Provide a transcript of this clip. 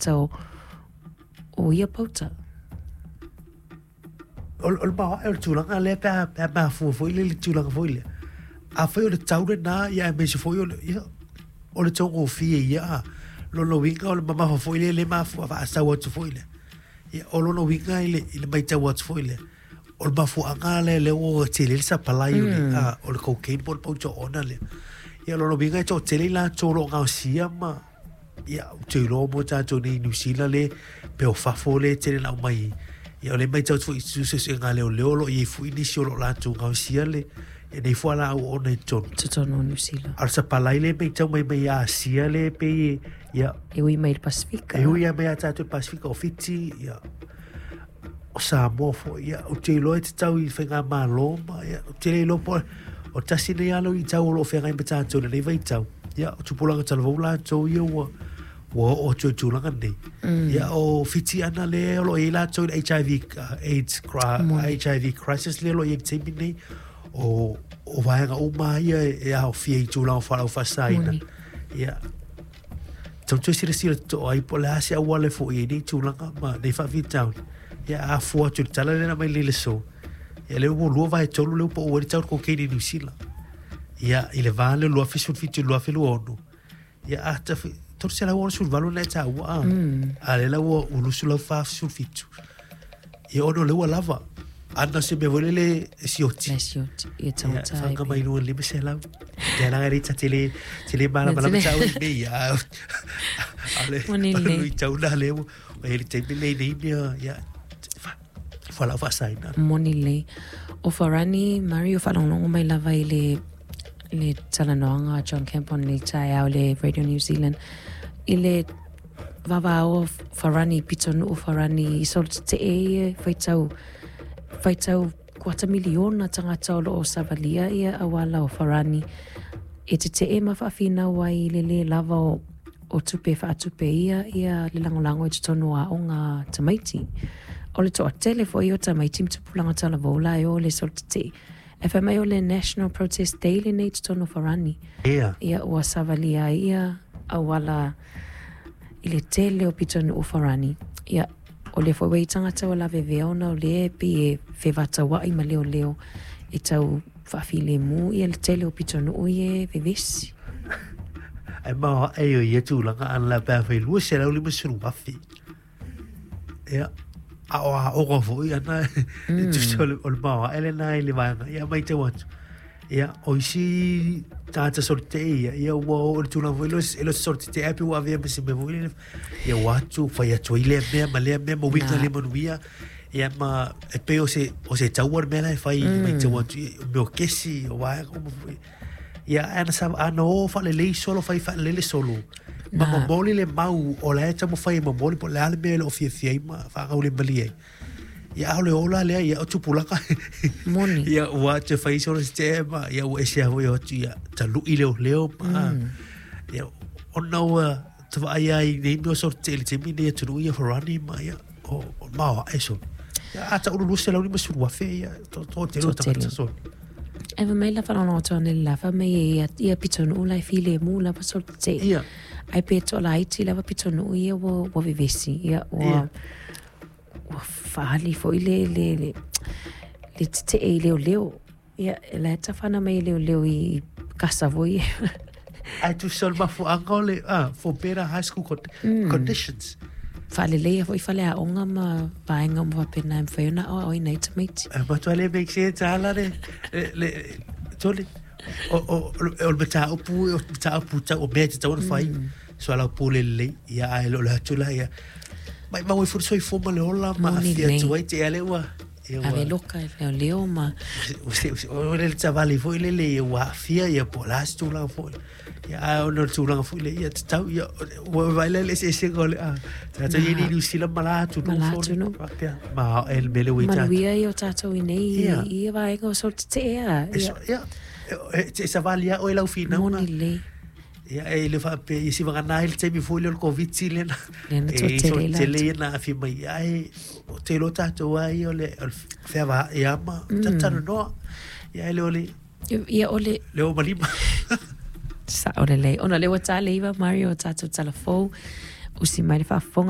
tagata o ia pauta. O le maoae o le tulaga lea pe a mafua foi lea i le tulaga foi lea. Afai o le tau lena, ia aemaise foi o le, ia, o le taugofie ia, a. Lona uiga o le mamafa foi lea le mafua faasau atu foi lea. Ia, o lona uiga i le matau atu foi lea, o le mafuaaga lea lea ua tele ai le supply o le, o le cocaine po o le pauta oona lea. Ia, o lona uiga e toatele i latou o lo o gaosia ma, ia, ou te iloa mo tatou nei i Niu Sila le, pe o fafo le tele na aumai. Ia, o lea e matau atu foi i suesuega a leoleo o lo o i ai foi nisi o lo o latou gaosia le, nei fualaau oona i totonu. Totonu o Niu Sila. A o le supply lea e matau mai mai Asia lea e pei e, ia. E ui mai i le Pasefika. E ui lava mai ia tatou i le Pasefika, o Fiti, ia, o Samoa foi, ia, ou te iloa e tatau i faigamalo ma, ia, ou te le iloa po o tasi nei lava luitau o lo o feagai ma tatou i lenei vaitau. Ia, o tupulaga talavou latou ia ua oo atu i le tulaga lenei. Ia, o Fiti ana lea o lo o i ai latou i le HIV, AIDS, HIV crisis lea o lo o i ai i le taimi lenei, o vaega uma lava ia e aofia i tulaga o fualaau faasaina. Ia, Tau toe silasila totoa ai po o le a se auala e foia ai nei tulaga ma nei faafitauli. Ia a fua atu i le tala lea na aumai nei le aso, ia lea ua 2/3 lea ua pau ai le tau o le cocaine i Niu Sila. Ia i le va lea o le 2017 i le 2026, ia a 368 na e taua a, a lea la ua 247. Ia ona o lea ua lava. Ana se mea foi lele e sioti. E sioti, ia tagata ai. Whanga mai lua 500. Te ala ngari ta tele, tele mala mala ma tau i mea. Ale, lui tau na le, o hele te mele nei mea, ia, whalau whaasaina. Moni lelei. O Farani Mario whaalongolongo mai lava i le le talanoaga a John Campbell nei taeao le Radio New Zealand i le vavao Farani pitonuu Farani i solo tetee ia faitau faitau kuata miliona tagata o loo savalia ia auala o Farani e tetee ma faafinau ai i le le lava o o tupe faatupe ia ia le lagolago i totonu o aoga a tamaiti. O le toatele foi o tamaiti ma tupulaga talavou la e o i le solo tetee. E fai mai o le National Protest Day lenei i totonu o Farani. Ia. Ia ua savalia ai ia auala i le tele o pitonuu o Farani. Ia, o lea foi ua i ai tagata ua lavevea ona o lea e pei e fevataua'i ma leoleo e tau faafilemu ia le tele o pitonuu ia e vevesi. Ae maoae o ia tulaga ana la pe a fai 250,000. Ia, a o aoga foi ana, e tusa o le maoae lena i le vaega. Ia, matau atu, ia, o isi tagata solo tetee ia, ia ua oo i le tulaga foi lea, e le o se solo tetee ae pei ua avea ma se mea foi lele, ia ua atu, fai atu ai lea mea ma lea mea ma uiga le manuia. Ia ma e pei o se taua le mea la e fai, matau atu, ia, o mea o kesi, o vaega uma foi. Ia, ana sa, ana o faalelei solo, fai faalelei le solo. Ma momoli le mau o la e taumafai e momoli po o le a le mea e le o fiafia ai ma faagaulemalie ai. Ia, a o le ola lea, ia, o tupulaga. Moni. Ia, ua atu e fai solo se tetee ma, ia, ua ese lava foi o atu, ia, talu'i leoleo ma, ia, ona ua vaai lava i nei mea o solo tetee i le taimi lenei i atunuu ia Farani ma, ia, o maoae solo. Ia, a tau 250,000, ia, toatele o tagata solo. Ae fai mai la faalogologo atu ana i le la fai mai e ia, ia pitonuu la e filemu lava solo tetee. Ia. Ae pe toalaiti lava pitonuu ia ua, ua vevesi. Ia, ua, Ia. ua faali foi le, le, le, le tetee i leoleo. Ia, e la e tafana mai e leoleo i kasa foi. Ae tusa o le mafuaaga o le, for better high school conditions. Faaleleia foi faleaoga ma vaega uma faapena e mafai ona aoaoina ai tamaiti. E matua le make sense ala le, le, tole, o le mataupu, o le mataupu tau o mea e tatau ona fai, soalaupule lelei, ia ae le o le atu la ia, maimau ai foi le soifua ma le ola ma aafia atu ai te i a lea ua, Ave loka e leoleo ma. O le savali foi lele ia ua aafia ia po o le a se tulaga foi. Ia ae ona o le tulaga foi lea ia tatau ia ua vaai la i le eseesega o le a tatou i ai nei i Niu Sila ma la atunuu Ma la atunuu. Faapea maoae le mea lea ua i tatou. Manuia ia o tatou i nei i ia vaega o solo tetee a. Ia, e savali lava oe i lau finauga. Moni lelei. Ia, e le faapea, ia sivagana ai le taimi foi lea o le Koviti lea na, Lea na toatele ai tele ia na aafia mai ai, ou te iloa tatou lava ia o le feavaai lava ma talatalanoa. Ia, e le o le... Ia, o le... Le o ma lima. Sao lelei. Ona o lea ua ta le 9 Mario o tatou tala fou, usi mai le faafofoga.